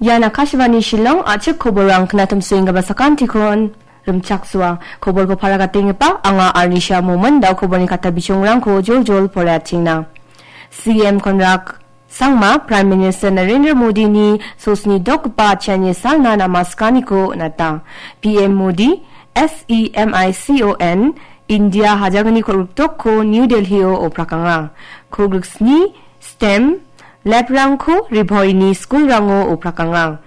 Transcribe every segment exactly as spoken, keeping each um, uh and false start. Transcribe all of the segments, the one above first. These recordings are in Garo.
Ian Akashvani Shillong, a·chik koborrang knatimsoenggipa sakantikon rimchaksoa. Koborko paragatenggipa anga Arnisha Momin, da·o koborni kata bichongrangko joljol poraiatengna. C M Konrad Sangma, Prime Minister Narendra Modini sosni dokgipa atchiani salna namaskaniko on·ata. P M Modi, S E M I C O N, India hajalgni kolgrikdokko New Delhi-o oprakanga. Kolgriksni STEM lab-rangko Ri Bhoini skulrango oprakanga.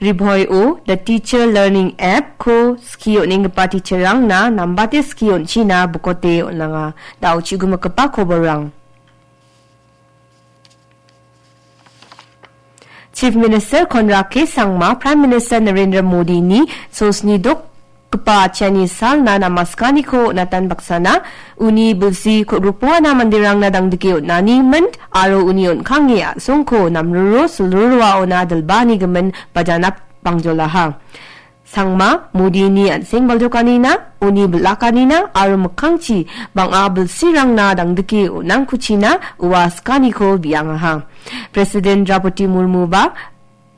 Ri Bhoio The Teacher Learning App-ko skie on·enggipa teacher-rangna nambate skie on·china bokote on·anga. Da·o chigimikgipa koborrang. Chief Minister Conrad K Sangma, Prime Minister Narendra Modini sosni dokgipa atchiani salna namaskaniko on·atan baksana, uni bilsi kolgrikbongana manderangna dangdike on·ani mint aro uni on·kange a·songko namruro silruro aona dilbaanigimin bajanap bangjolaha. Sangma, Modini an·seng baljokanina, uni bil·akanina aro mikkangchi bang·a bilsirangna dangdike on·angkuchina ua skaniko biangaha. President Draupadi Murmuba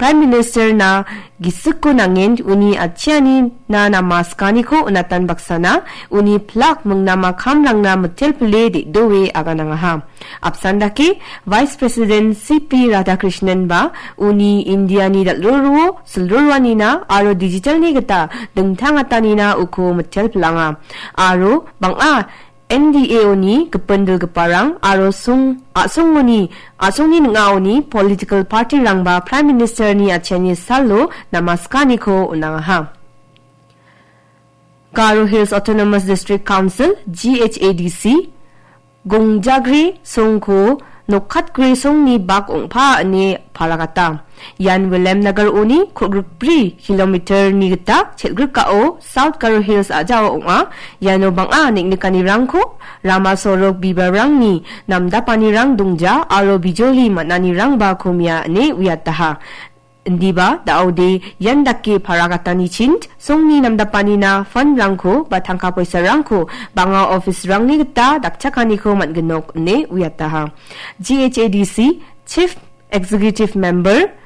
Prime Minister-na gisikko nangen uni atchianina namaskaniko on·atan baksana, uni pilak mingnama kamrangna mitelpile de·doe aganangaha. Apsan dake, Vice President C P Radhakrishnan ba uni Indiani dal·roroa silroroanina aro digitalni gita dingtangatanina uko mitelpilanga. Aro bang·a N D A-oni gipin dilgiparang aro song-, a·songoni, a·songni ning·aoni political party-rangba Prime Minister-ni atchiani salo namaskaniko on·angaha. Garo Hills Autonomous District Council, G H A D C, Gongjagre songko nokatgre songni bak ong·pa ine paragata. Ian Williamnagar-oni kolgrikbri kilometer-ni gita chelgrikao South Garo Hills a·jao ong·a. Iano bang·a neng·nikanirangko rama sorok bibalrangni namdapanirang dongja aro bijoli man·anirangba komia ine uiataha. Indiba, da·ode ian dake paragatanichin songni namdapanina fund-rangko ba tangka poisarangko bang·a office-rangni gita dakchakaniko man·ginok ine uiataha. G H A D C Chief Executive Member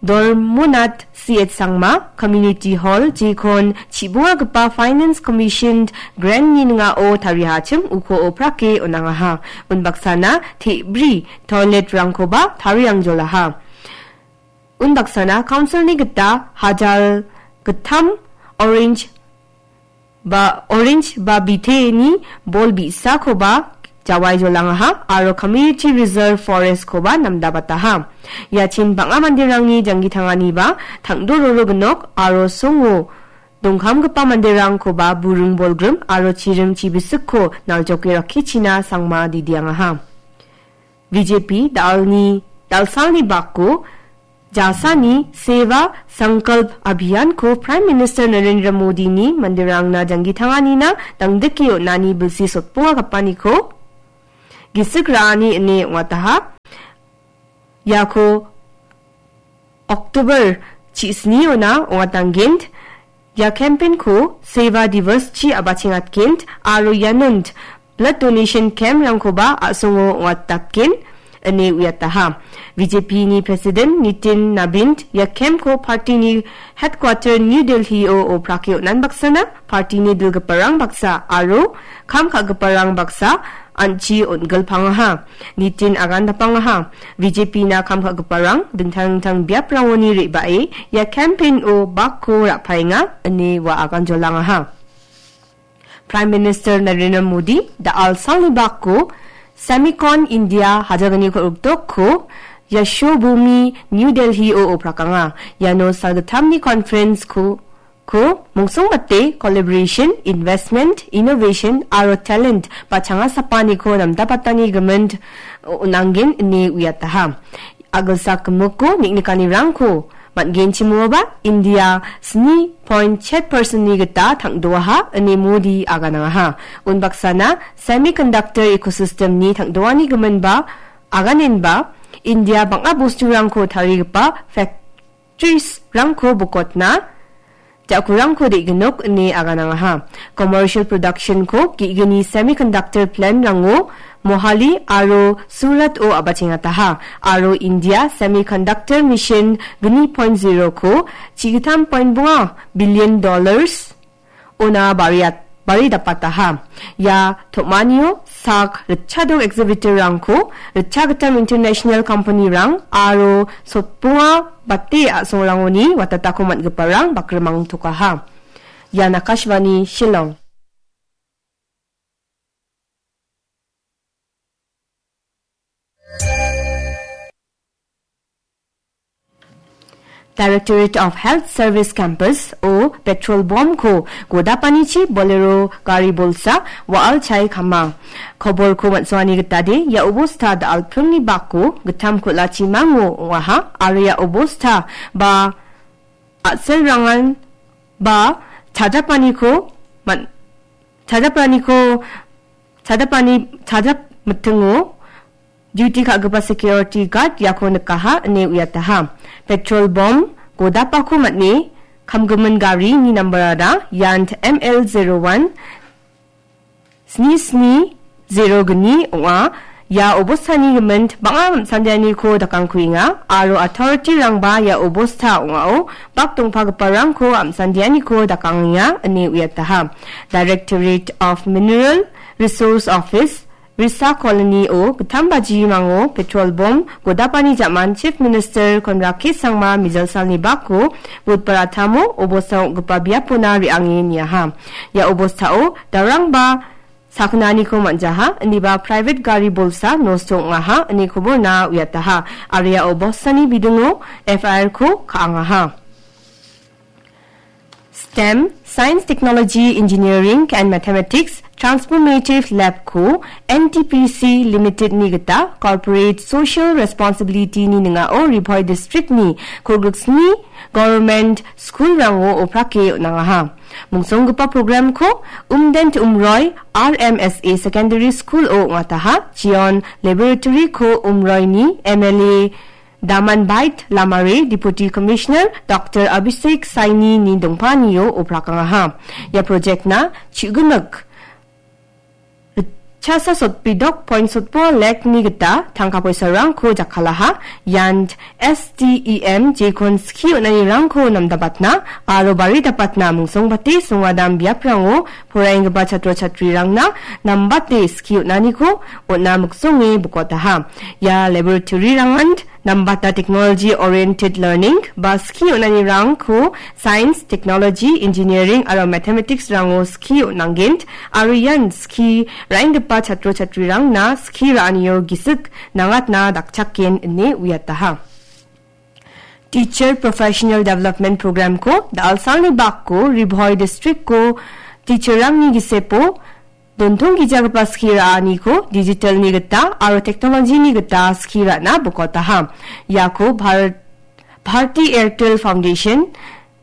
Dormonat C H Sangma, Community Hall, jekon chiboagipa Finance Commission grant-ni ning·ao tariachim uko oprake on·angaha. Unbaksana te·bri toilet-rangkoba tariangjolaha. Unbaksana council-ni gita hajal gittam orange ba, orange ba biteni bol bi·sakoba jawai jolangaha aro community reserve forest-koba namdabataha. Iachin bang·a manderangni janggi tanganiba tangdo roro gnok aro songo dongkamgipa manderangkoba buring bolgrim aro chiring chibisikko naljoke rakkichina Sangma didiangaha. B J P da·alni, da·alsalni bako Jasani Seva Sankalp Abhiyan-ko Prime Minister Narendra Modini manderangna janggi tanganina dangdike on·ani bilsi sotbongagapaniko gisik ra·ani ine ong·ataha. Iako October chisniona ong·atanggen. Ia campaign-ko Seva Divas-chi a·bachengatgen aro ianon blood donation camp-rangkoba a·songo ong·atdatgen ine uiataha. B J P-ni President Nitin Nabin ia camp-ko party-ni headquarter New Delhi-o oprake on·an baksana, party-ni dilgiparang baksa aro kam ka·giparang baksa an·chi on·gilpangaha. Nitin agandapangaha. B J P-na kam ka·giparang dingtang dingtang biaprangoni re·bae ia campaign-o bakko ra·paenga ine ua aganjolangaha. Prime Minister Narendra Modi da·al salni bako Semicon India hajalgni kol·rikdokko Yashobhumi New Delhi-o oprakanga. Iano salgittamni conference-ko ko mongsongbate collaboration, investment, innovation aro talent ba changasapaniko namdapatani gimin on·anggen ine uiataha. A·gilsak gimikko neng·nikanirangko man·genchimoaba India sni point chet percent-ni gita tang·doaha ine Modi aganangaha. Unbaksana semiconductor ecosystem-ni tang·doani giminba aganenba India bang·a bosturangko tarigipa fak- factories-rangko bokotna ja·kurangko de·ginok ine aganangaha. Commercial production-ko ge·gni semiconductor plant-rango Mohali aro Surat-o a·bachengataha, aro India Semiconductor Mission gni point zero-ko chigitam point bonga billion dollars ona bariat-, baridapataha. Ia tom·anio sak ritchadok exhibitor-rangko ritchagittam international company-rang aro sotbonga bate a·songrangoni watatako man·giparang bakrimangtokaha. Ian Akashvani Shillong. Directorate of Health Service Campus-o petrol bomb-ko godapanichi Bolero gari bolsa wa·al chae kama. Koborko man·songani gitade, ia obosta da·alpringni bako gittam kul·achi mango ong·aha, aro ia obosta ba a·selrangan ba chajapaniko man-, chajapaniko, chajapani, chajap mitingo duty ka·gipa security guard iako nikaha ine uiataha. Petrol bomb godapako man·e kamgimin garini nambarara ian M L zero one sni sni zero gni ong·a. Ia obostani gimint bang·a amsandianiko dakangkuenga aro authority-rangba ia obosta ong·ao bak dongpagiparangko amsandianiko dakangenga ine uiataha. Directorate of Mineral Resource Office, Risa Colony-o gittam bajimango petrol bomb godapani ja·man Chief Minister Conrad K Sangma mijalsalni bako Budbar a·tamo obosta ong·gipa biapona re·ange niaha. Ia obostao darangba sakgnaniko man·jaha, indiba private gari bolsa nosto ong·aha, ine koborna uiataha. Aro ia obostani bidingo F I R-ko ka·angaha. STEM, Science, Technology, Engineering and Mathematics Transformative Lab-ko N T P C Limited-ni gita Corporate Social Responsibility-ni ning·ao Ri Bhoi District-ni kolgriksni Government School-rango oprake on·angaha. Mungsonggipa program-ko Umdent Umroi R M S A Secondary School-o ong·ataha, Chion Laboratory-ko Umroini M L A Damanbait Lamare, Deputy Commissioner Doctor Abhishek Saini-ni dongpanio oprakangaha. Ia project-na chu·gimik chasa sotbidok point sotbo lek-ni gita tangka poisarangko jakkalaha. Ian S T E M jekon skie on·anirangko namdabatna aro baridapatna mungsongbate songadam biaprango poraienggipa chatro chatrirangna nambate skie on·aniko on·a miksonge bokotaha. Ia laboratory-rangan nambata technology oriented learning ba skie on·anirangko science, technology, engineering aro mathematics-rango skie on·angent aro ian skie ra·enggipa chatro chatrirangna skie ra·anio gisik nangatna dakchaken ine uiataha. Teacher Professional Development Program-ko da·alsalni bakko Ri Bhoi District-ko teacher-rangni gisepo dontonggijagipa skie ra·aniko digital-ni gita aro technology-ni gita skie ra·na bokotaha. Iako Bharat-, Bharti Airtel Foundation,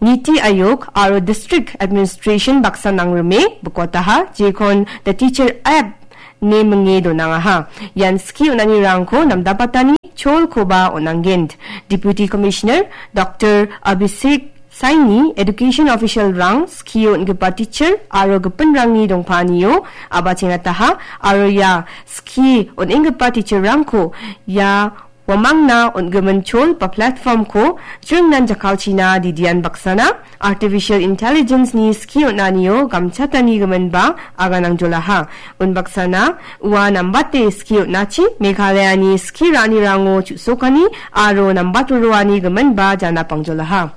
Niti Aayog aro District Administration baksa nangrime bokotaha, jekon The Teacher App ine minge donangaha. Ian skie on·anirangko namdapatani cholkoba on·angent. Deputy Commissioner Doctor Abhishek Saini, Education Official-rang skie on·gipa teacher aro gipinrangni dongpanio a·bachengataha, aro ia skie on·enggipa teacher-rangko ia uamangna on·gimin chol ba platform-ko jringnan jakkalchina didian baksana Artificial Intelligence-ni skie on·anio gamchatanigiminba aganangjolaha. Unbaksana ua nambate skie on·achi Meghalaya-ni skie ra·anirango chu·sokani aro nambat roroanigiminba janapangjolaha.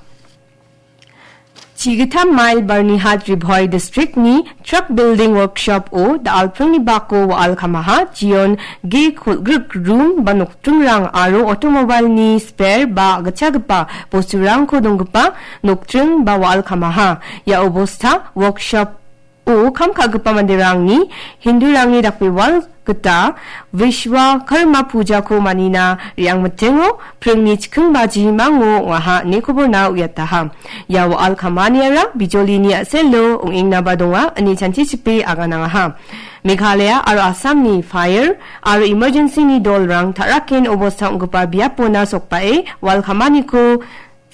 Chigitam mail Barnihat Ri Bhoi District-ni Truck Building Workshop-o da·alpringni bako wa·al kamaha, Jion ge kolgrik rum ba nokdringrang aro automobile-ni spare ba gitchagipa bosturangko donggipa nokdring ba wa·al kamaha. Ia obosta workshop-o kam ka·gipa manderangni Hindurangni dakbewal gita Vishwa Karma Puja-ko manina re·angmitingo pringni chikking bajimango ong·aha ine koborna uiataha. Ia wa·al kamaniara bijolini a·selo ong·engnaba donga ine chanchichipe aganangaha. Meghalaya aro Assamni fire aro emergency-ni dolrang ta·raken obosta ong·gipa biapona sokbae wa·al kamaniko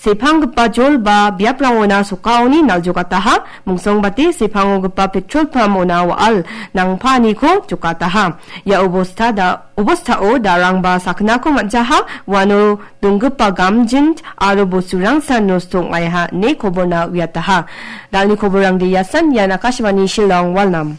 Sepanggipa jol ba biaprangona sokaoni naljokataha, mungsongbate sepangogipa petrol pump-ona wa·al nangpaaniko jokataha. Ia obosta da-, obostao darangba saknako man·jaha, uano donggipa gamjint aro bosturangsan nosto ong·aiha ine koborna uiataha. Dalni koborrangde iasan, ian Akashvani Shillong, Walnam.